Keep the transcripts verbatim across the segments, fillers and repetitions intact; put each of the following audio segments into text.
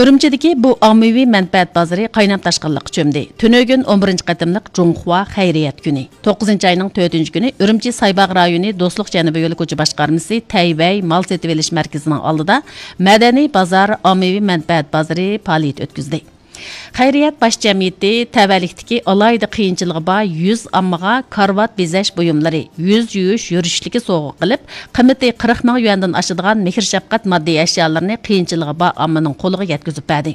ئۈرۈمچىدىكى بۇ ئاممىۋى مەنپەئەت بازىرى قاينام تاشقىنلىققا چۆمدى. تۈنۈگۈن ئون بىرىنچى قېتىملىق جۇڭخۇا خەيرىيەت كۈنى. توققۇزىنچى ئاينىڭ تۆتىنچى كۈنى ئۈرۈمچى سايباغ رايونى دوستلۇق جەنۇبىي يولى كوچا باشقارمىسى تەيۋەي مال سېتىۋېلىش مەركىزىنىڭ ئالدىدا مەدەنىي بازار، ئاممىۋى مەنپەئەت بازىرى پائالىيىتى ئۆتكۈزدى. خەيرىيەت باش جەمئىيىتى تەۋەلىكتىكى ئالاھىدە قىيىنچىلىقى بار يۈز ئاممىغا كارىۋات بېزەش بۇيۇملىرى، يۈز يۇيۇش يۈرۈشلۈكى سوۋغا قىلىپ، قىممىتى قىرىق مىڭ يۈەندىن ئاشىدىغان مېھىر-شەپقەت ماددىي ئەشيالىرىنى قىيىنچىلىقى بار ئاممىنىڭ قولىغا يەتكۈزۈپ بەردى.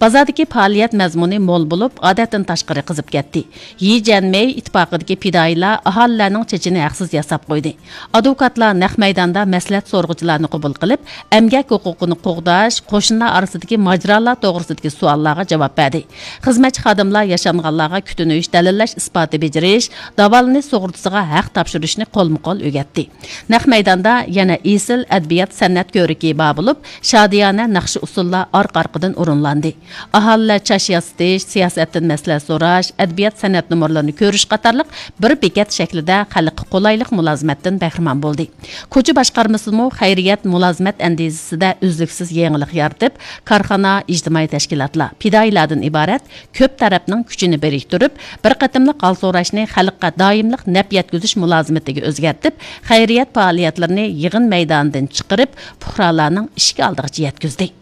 بازاردىكى پائالىيەت مەزمۇنى مول بولۇپ، ئادەتتىن تاشقىرى قىزىپ كەتتى. يى جيەنمېي ئىتتىپاقىدىكى پىدائىيلار ئاھالىلەرنىڭ چېچىنى ھەقسىز ياساپ قويدى. ئادۋوكاتلار نەق مەيداندا مەسلىھەت سورىغۇچىلارنى قوبۇل قىلىپ، ئەمگەك ھوقۇقىنى قوغداش، قوشنىلار ئارىسىدىكى ماجىرالار توغرىسىدىكى سوئاللارغا جاۋاب بەردى. خىزمەتچى خادىملار ياشانغانلارغا كۈتۈنۈش، دەلىللەش ئىسپاتى بېجىرىش، داۋالىنىش سۇغۇرتىسىغا ھەق تاپشۇرۇشنى قولمۇ قول ئۆگەتتى. نەق مەيداندا يەنە ئېسىل ئەدەبىيات سەنئەت كۆرىكى بار بولۇپ، شادىيانە ناخشا ئۇسسۇللار ئارقا-ئارقىدىن ئورۇنلاندى. ئاھالىلەر چاچ ياسىتىش، سىياسەتتىن مەسلىھەت سوراش، ئەدەبىيات سەنئەت نومۇرلىرىنى كۆرۈش قاتارلىق بىر بېكەت شەكلىدە خەلققە قولايلىق مۇلازىمەتتىن بەھرىمەن بولدى. كوچا باشقارمىسىمۇ خەيرىيەت مۇلازىمەت ئەندىزىسىدە ئۈزلۈكسىز يېڭىلىق يارىتىپ، كارخانا، ئىجتىمائىي تەشكىلاتلار، پىدائىيلاردىن ئىبارەت كۆپ تەرەپنىڭ كۈچىنى بىرىكتۈرۈپ، بىر قېتىملىق ھال سوراشنى خەلققە دائىملىق نەپ يەتكۈزۈش مۇلازىمىتىگە ئۆزگەرتىپ، خەيرىيەت پائالىيەتلىرىنى يىغىن مەيدانىدىن چىقىرىپ، پۇقرالارنىڭ ئىشىك ئالدىغىچە يەتكۈزدى.